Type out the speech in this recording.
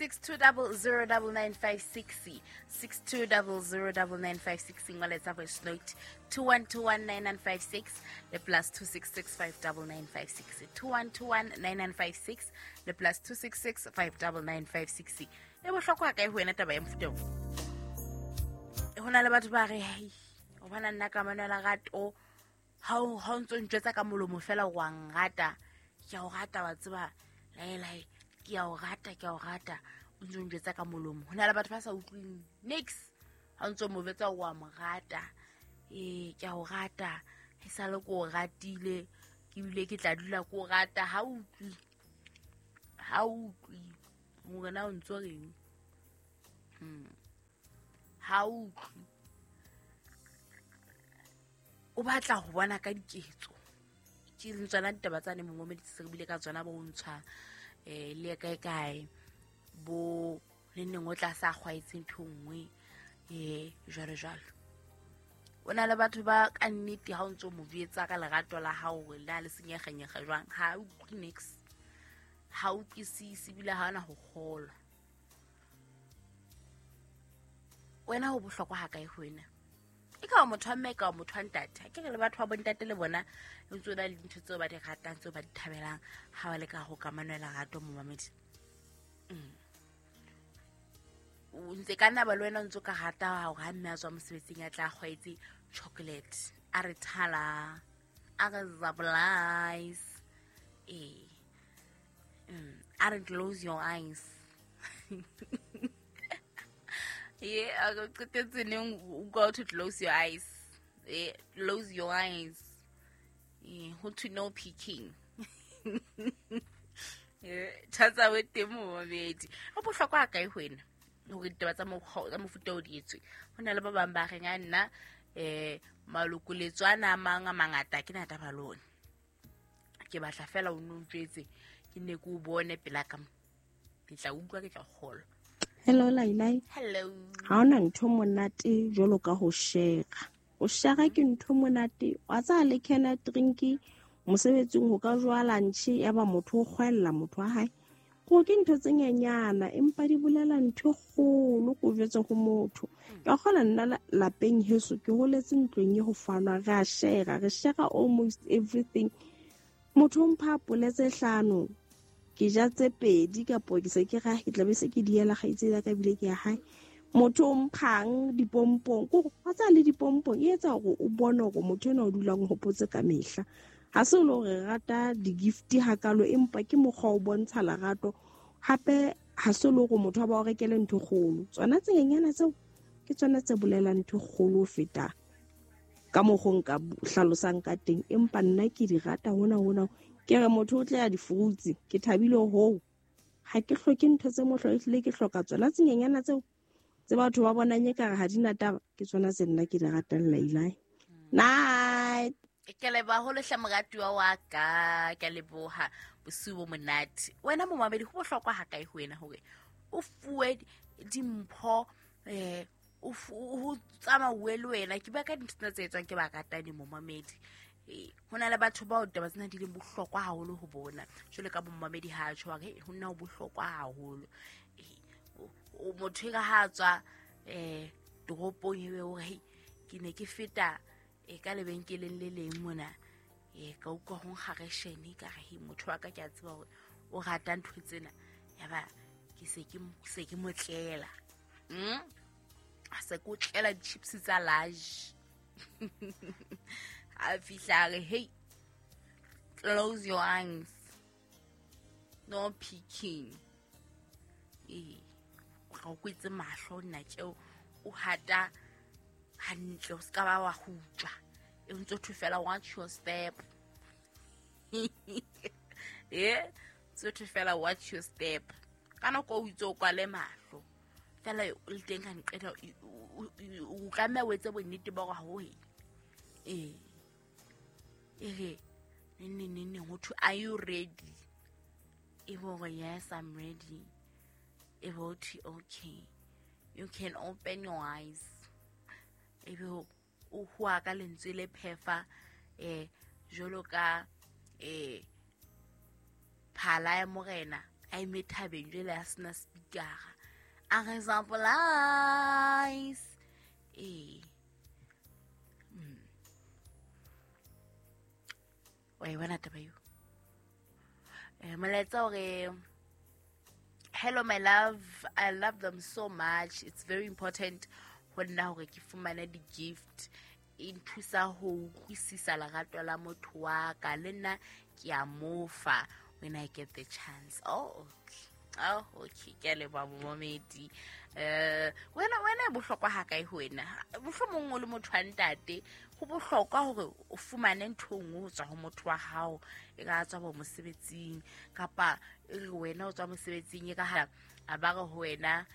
62009956, 62009956. Ngoletsa voice note 21219956 le +266 59956, 21219956 le +266 59956. E bohlokwa kae ho wena taba ya mofuta o? Ho na le batho ba re, "Hei, o bona nna kamano ya lerato, ha o ntso ntjwetsa ka molomo fela wa nrata, ke a o rata, wa tseba, laelae, ke a o rata, ke a o rata, o ntso njwetsa ka molomo." Ho na le batho ba sa utlweng nix ha o ntso mo jwetsa wa mo rata. Ee, ke a o rata, e sale ke o ratile, ke bile ke tla dula ke o rata. Ha utlwi, ha utlwi hore na o ntso reng. Ha utlwi, o batla ho bona ka diketso. Ke leng tsona ditaba tsane, momomedi, se re bile ka tsona, bo ntshwa le kae kae, bo le neng o tla sa kgwaetse ntho e nngwe, jwalo jwalo. O na le batho ba ka nnete ha o ntso mo jwetsa ka lerato la hao hore le na le senyegenyege jwang, ha utlwe nix, ha utlwisise, ebile ha ona ho kgolwa. Wena ho bohlokwa ha kae ho wena? E ka ba motho wa mme, e ka ba motho wa ntate. Ha ke re le batho ba bontate le bona ntse o na le dintho tseo ba di ratang, tseo ba di thabelang ha ba le ka go kamano ya lerato, momamedi. O ntse ka nna ba le wena o ntse o ka rata hore ha mme a tswa mosebetsing a tla kgwaetse chocolate, a re thala, a re zablize, ee, a re close your eyes. Ye a re qetetse neng o go to close your eyes? Close your eyes. Ho thwe no peeking. Tjhatsa we teng, momamedi, ho bohlokwa ha kae ho wena hore ditaba tsa tsa mofuta o di etswe? Ho na le ba bang ba reng, a nna malokoletso ana a mang a mangata ke na taba le ona, ke batla fela o no ntjwetse, ke ne ke o bone pela ka mo, ke tla utlwa, ke tla kgolwa. Hello, Lailai. Hello. Ha hona ntho monate jwalo ka ho shera. Ho shera ke ntho monate. Wa tsaya le kena drink mosebetsing, ho ka jowa lunch, ya ba motho o kgwella motho wa hae. Ko ke ntho tse nyenyana, empa di bolela ntho e kgolo ko jwetse ho motho. Ka kgona nna lapeng heso ke holetse ntlong e ho fanwa, re a shera, re shera almost everything. Motho o mpha apole tse 5, ke ja tse 2, kapo ke se ke ra ke tla be se ke diela kgaitsedi ya ka, ebile ke ya hae. Motho o mphang dipompong, ko wa tsaya le dipompong, e etsa hore o bone hore motho enwa o dulang o hopotse ka mehla. Ha se le hore re rata di-gift hakalo, empa ke mokgwa o bontsha lerato. Hape ha se le hore motho a ba o rekele ntho e kgolo, tsona tse nyenyana tseo ke tsona tse bolelang ntho e kgolo ho feta ka mokgo nka hlalosang ka teng. Empa nna ke di rata hona hona. Ke re motho o tle ya di-fruits, ke thabile hoo, ha ke hloke ntho tse mohlo, ehlile ke hloka tsona tse nyenyana tseo tse batho ba bonang ekare ha di na taba, ke tsona tse nna ke di ratang, Lailai. Night. Ke leboha haholo hle, moratuwa wa ka, ke a leboha. Bosiu bo monate. Wena momamedi, ho bohlokwa ha kae ho wena hore o fuwe dimpho, ho tsamauwe le wena? Ke bua ka dintho tsena tse etswang ke baratani, momamedi. Ho na le batho bao taba tsena di leng bohlokwa haholo ho bona, jwalo ka bomamedi ha tjho hore ho nna ho bohlokwa haholo. Motho e ka ha tswa toropong, ebe hore hei, ke ne ke feta ka lebenkeleng le leng mona, ka utlwa ho nkga reshene, ka re hei, motho wa ka ke a tseba hore o rata ntho tsena, yaba ke se ke mo tlela. Se ke o tlela di-chips tsa large. A fihla a re, "Hey, close your eyes, no peeking." Ee, ga o kwetse mahlo nna tjeo, o hata hantle, o se ka ba wa hutswa, e ntse thwe fela, "Watch your step." E ntse thwe fela, "Watch your step." Ka nako o itse o kwale mahlo fela le teng, ka nqeta o tlameha o etse bonnete ba hore ha o ee e re neng neng neng neng, ho thwe, "Are you ready?" E be hore, "Yes, I'm ready." E be ho thwe, "Okay, you can open your eyes." E be o hua ka lentswe le phefa, jwalo ka phala ya morena. A eme thabeng jwale a sena speakera a re example-ize. Ee, wa e bona taba eo. Molaetsa hore, "Hello my love, I love them so much. It's very important ho nna hore ke fumane di-gift. E nthusa ho utlwisisa lerato la motho wa ka. Le nna ke a mofa when I get the chance." Oh, okay. Oh, okay, ke a leboha momamedi. Wena e bohlokwa ha kae ho wena? Mohlomong o le motho wa ntate, ho bohlokwa hore o fumane ntho e nngwe ho tswa ho motho wa hao, e ka tswa bo mosebetsing, kapa e re wena o tswa mosebetsing, e ka ha a ba re ho wena,